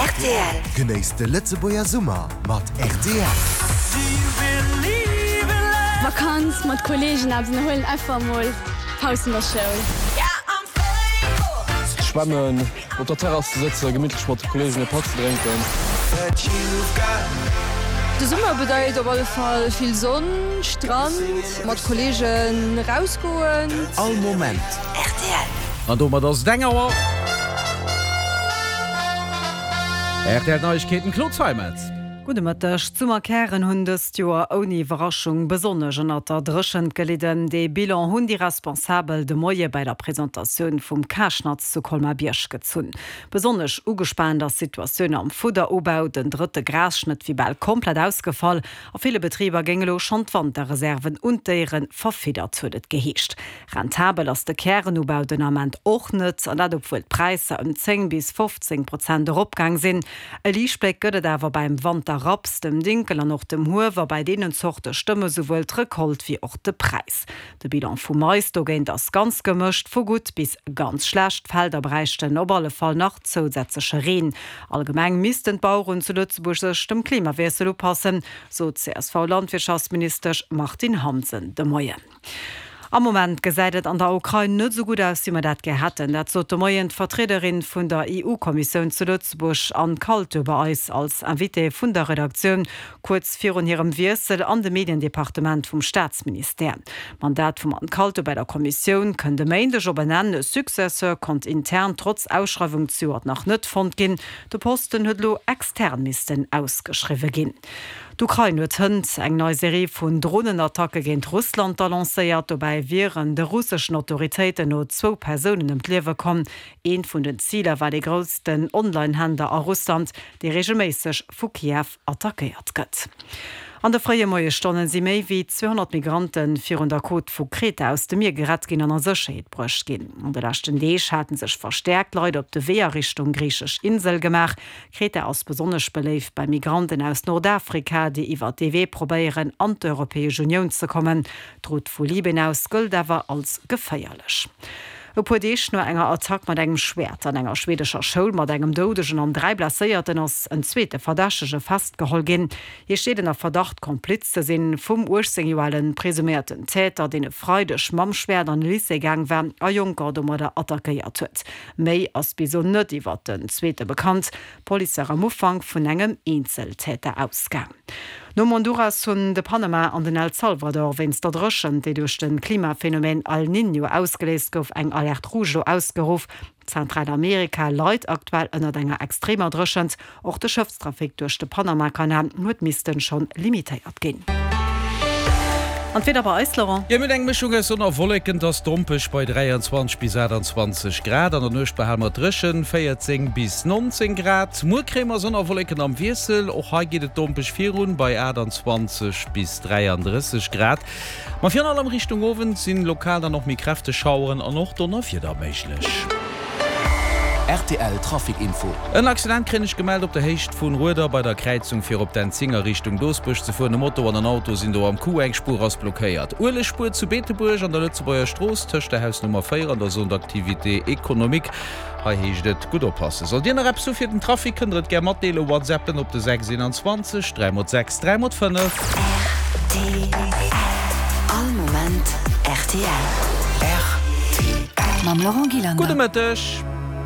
Rtl. Genéisst de Lëtzebuerger Summer mat rtl. Vakanz mat Kollegen eppes ënnerhuelen, einfach emol Paus vun der Schoul. Schwämmen, op der Terrass ze sëtzen, gemittlech mat de Kollegen e Patt ze drénken. De Summer bedeit op alle Fall vill Sonn, Strand, mat Kollegen rausgoen. All Moment. Rtl. An domat ass et eng Auer. Rtl Neiegkeeten, Claude Zeimetz. Gudde Mëtteg. D'Summerkären hunn dëst Joer ouni Iwwerraschung besonnesch ënnert der Dréchent gelidden. Dee Bilan hunn déi Responsabel de Moie bei der Presentatioun vum Karschnatz zu Colmar-Bierg gezunn. Besonnesch ugespaant ass d'Situatioun am Fudderubau. Den drëtte Grasschnëtt wier bal komplett ausgefall. A ville Betriber géing elo schonn d'Wanterreserven un d'Déiere verfiddert, huet et geheescht. Rentabel ass de Kärenubau den Ament och net, an dat obwuel d'Präisser ëm 10 bis 15 Prozent eropgaang sinn. E Liichtbléck gëtt et awer beim Wanterraps, dem Dinkel an och dem Huewer. Bei deenen Zorte stëmme souwuel d'Recolte wéi och de Präis. De Bilan vum Mais dogéint ass ganz gemëscht, vu gutt bis ganz schlecht. D'Felder bräichten op alle Fall nach zousätzleche Reen. Allgemeng missten d'Baueren zu Lëtzebuerg sech dem Klimawiessel upassen, sot d'CSV-Landwirtschaftsministesch Martine Hansen de Moien. Am Moment gesäit et an der Ukrain net esou gutt aus, wéi mer dat gär hätten. Dat sot de Moien d'Vertriederin vun der EU-Kommissioun zu Lëtzebuerg, Anne Kaltö, bei eis als Invitée vun der Redaktioun, kuerz virun hirem Wiessel an de Mediendepartement vum Staatsministère. D'Mandat vum Anne Kaltö bei der Kommissioun kënnt e Méindeg op en Enn. E Successeur konnt intern trotz Ausschreiwung zejoert nach net fonnt ginn. De Posten huet elo extern missten ausgeschriwwe ginn. D'Ukrain huet hënt eng nei Serie vun Dronenattacke géint Russland da lancéiert. Dobäi wieren de russeschen Autoritéiten no zwou Persounen ëm d'Liewe komm. Eent vun den Ziler war dee groussten Online-Händler a Russland, dee reegelméisseg vu Kiew attackéiert gëtt. An de fréie Moiesstonne si méi wéi 200 Migrante virun der Côte vu Kreta aus dem Mier gerett ginn an a Sécherheet bruecht ginn. An de leschten Deeg hate sech verstäerkt Leit op de Wee a Richtung griichesch Insel gemaach. Kreta ass besonnesch beléift bei Migranten aus Nordafrika, déi iwwer dee Wee probéieren, an d'Europäesch Unioun ze kommen. D'Route vu Libyen aus gëllt awer als geféierlech. E puer Deeg no enger Attack mat engem Schwäert an enger schweedescher Schoul mat engem Doudegen an 3 Blesséierten ass en zweete Verdächtege festgeholl ginn. Hie steet ënner Verdacht, Kompliz ze sinn vum 18 Joer ale presuméierten Täter, deen e Freideg mam Schwäert an e Lycée gaang war a Jonker domadder attackéiert huet. Méi ass bis elo net iwwert den zweete bekannt. D'Police war am Ufank vun engem Eenzeltäter ausgaang. Nom Honduras hunn de Panama an den El Salvador wéinst der Dréchent, déi duerch de Klimaphenomen El Niño ausgeléist gouf, eng Alerte rouge elo ausgeruff. Zentralamerika leit aktuell ënnert enger extremer Dréchent. Och de Schëffstrafic duerch de Panamakanal huet missten schonn limitéiert ginn. An d'Wieder bei eis, Laurent? Jo, mir hunn eng Mëschung aus Sonn a Wolleken, et ass dompeg bei 23 bis 28 Grad. An der Nuecht behale mer dréchen, 14 bis 19 Grad. Muer kréie mer Sonn a Wolleken am Wiessel, och hei geet et dompeg virun bei 28 bis 33 Grad. Ma virun allem Richtung Owend sinn lokal dann och méi kräfteg Schaueren an och Donnerwieder méiglech. Rtl Trafic Info. En Accident kréien ech gemellt op der Héicht vun Rueder bei der Kräizung fir op d'N10 a Richtung Doosbuerg ze fueren. E Moto an en Auto sinn do am Coup, eng Spuer ass blockéiert. Uelegspuer zu Beetebuerg an der Lëtzebuerger Strooss tëscht der Hausnummer 4 an der Zone d'activité économique. Hei heescht et gutt oppassen. Sollt Dir nach eppes hu fir den Trafic, kënnt der et gär matdeelen. Whatsappen op de 6 21 3 x 6 3 x 5. Rtl. All Moment rtl. Rtl. Mam Laurent Gillander. Gudde Mëtteg.